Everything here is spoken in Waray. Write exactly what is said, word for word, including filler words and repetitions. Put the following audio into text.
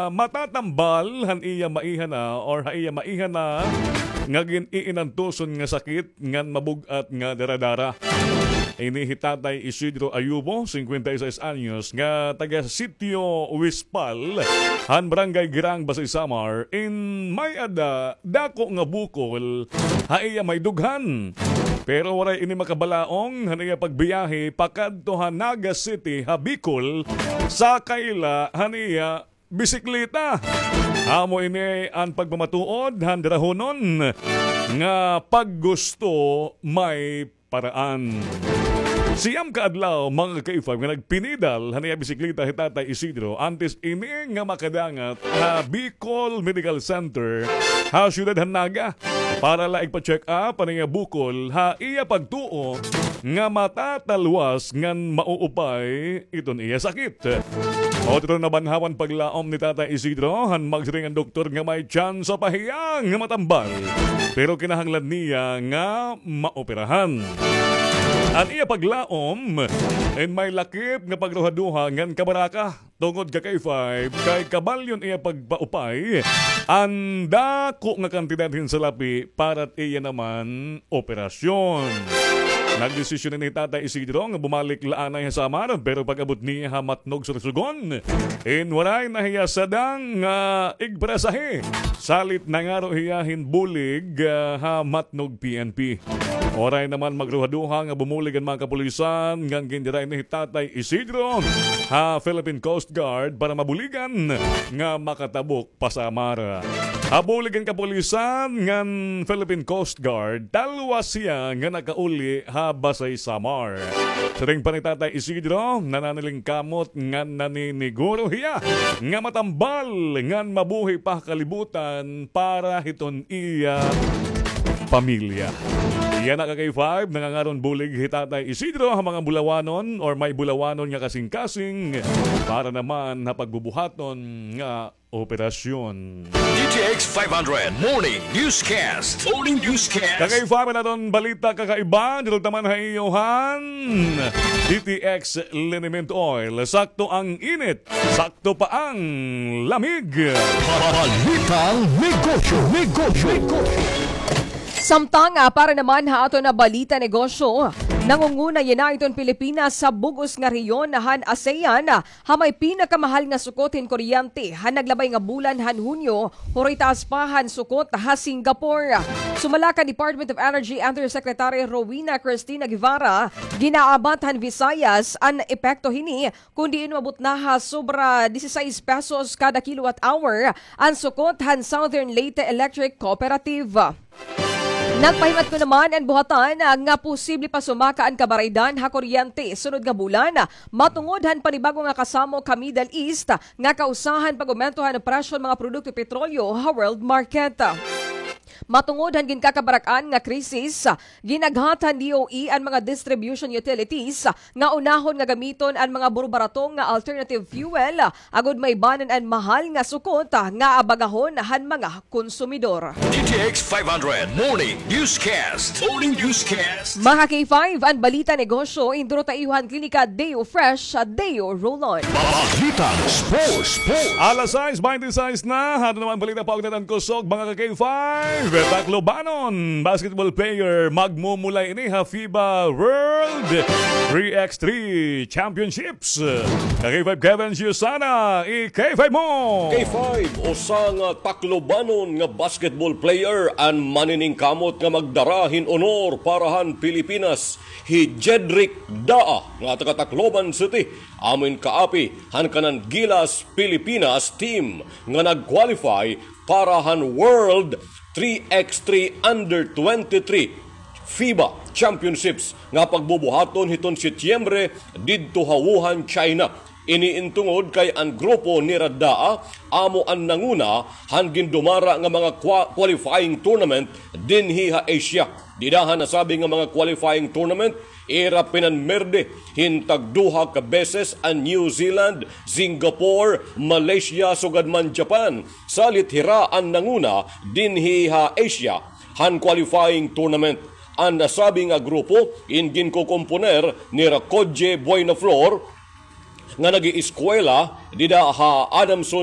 ah, matatambal han iya maiha na or ha iya maiha na nga gin-iinantuson nga sakit ngan mabug-at nga daradara. Ini hi Tatay Isidro Ayubo, singkwenta y seis anyos, nga taga Sitio Wispal, han Barangay Girang, Basey, Samar, in may-ada dako nga bukol ha iya may dughan. Pero waray ini makabalaong han iya pagbiyahe pakadto ha Naga City ha Bicol, sakay la han iya bisikleta. Amo ini an pagpamatuod han darahonon nga paggusto may paraan. Siyam ka adlaw, mga ka-K five, nga nagpinidal han iya bisikleta hi Tatay Isidro antes ini nga makadangat ha Bicol Medical Center ha siyudad han Naga para la igpa-check up an iya bukol ha iya pagtuo nga matatalwas ngan mauupay iton iya sakit. Otro nabanhawan paglaom ni Tatay Isidro, han magsiring an doktor nga may tsansa pa hiya nga matambal, pero kinahanglan niya nga maoperahan. An iya paglaom in may lakip nga pagduhaduha ngan kabaraka tungod ka K five kay kabalyon iya pagpaupay an dako nga kantidad hin salapi para iya naman operasyon. Nagdesisyon ini hi Tatay Isidro nga bumalik la anay ha Samar, pero pag-abot niya ha Matnog, Sorsogon, in waray na hiya sadang nga igpasahe. Salit nangaro hiya hin bulig, ah, ha Matnog P N P. Waray naman magduhaduha nga bumulig an mga kapulisan ngan gindira ini hi Tatay Isidro ha Philippine Coast Guard para mabuligan nga makatabok pa Samar. Ha bulig han kapulisan ngan Philippine Coast Guard, talwas hiya nga nakauli ha Basey, Samar. Siring pa ni Tatay Isidro, nananalingkamot ngan naniniguro hiya nga matambal ngan mabuhi pa ha kalibutan para hiton iya pamilya. Yana ka K five, nangangaron bulig hi Tatay Isidro ha mga Bulawanon or may Bulawanon nga kasingkasing para naman ha pagbubuhaton nga operasyon. D T X five hundred Morning Newscast. Morning Newscast. Kakaiba man aton balita, kakaiba, dito taman ha iyo han D T X Liniment Oil. Sakto ang init, sakto pa ang lamig. Balitang negosyo, negosyo, negosyo. Samtang, ah, para naman ha aton nga balita negosyo, nangunguna yana iton Pilipinas sa bug-os nga rehiyon han ASEAN, ah, ha may pinakamahal nga sukot hin kuryente han naglabay nga bulan han Hunyo, huroy taas pa han sukot ha Singapore. Sumala kan Department of Energy Undersecretary Rowena Cristina Guevara, ginaabat han Visayas an epekto hini, kun diin umabot na ha sobra disisais pesos kada kilowatt hour an sukot han Southern Leyte Electric Cooperative. Nagpahimatngon naman an buhatan nga posible pa sumaka an kabaraydan ha kuryente sunod nga bulan, matungod han panibago nga kasamok ha Middle East nga kausa han pag-umento han presyo han mga produkto petrolyo ha world market. Matungod han ginkakabarak-an nga krisis, ginaghat han D O E an mga distribution utilities nga unahon nga gamiton an mga burbarato nga alternative fuel, agod maibanan an mahal nga sukot nga abagahon han mga konsumidor. D T X five hundred Morning Newscast. Morning Newscast. Mga K five, an balita negosyo, indurot ha iyo han Klinika Deo Fresh, Deo Roll-On. Balitang sports, sports. Alas sais bente sais na, aton naman balita pa og natangkosog, mga ka-K five. Taclobanon basketball player magmumulay ini ha FIBA World three X three Championship. Ka-K five Kevin Giusana, i-K five mo. K five, usa nga Taclobanon nga basketball player an maniningkamot nga magdara hin honor para han Pilipinas, hi Jedrick Daa nga taga Tacloban City, amo in kaapi han kanan Gilas Pilipinas team nga nag-qualify para han World three X three Under twenty-three FIBA Championships nga pagbubuhaton hiton Setyembre didto ha Wuhan, China. Ini in tungod kay an grupo nira Daa amo an nanguna han gindumara nga mga qua-, qualifying tournament dinhi ha Asia. Dida ha nasabi nga mga qualifying tournament, ira pinanmirde hin tagduha ka beses an New Zealand, Singapore, Malaysia, sugad man Japan. Salit hira an nanguna dinhi ha Asia han qualifying tournament. An nasabi nga grupo in ginkokomponer nira Kodje Buenaflor nga nag-ieskwela dida ha Adamson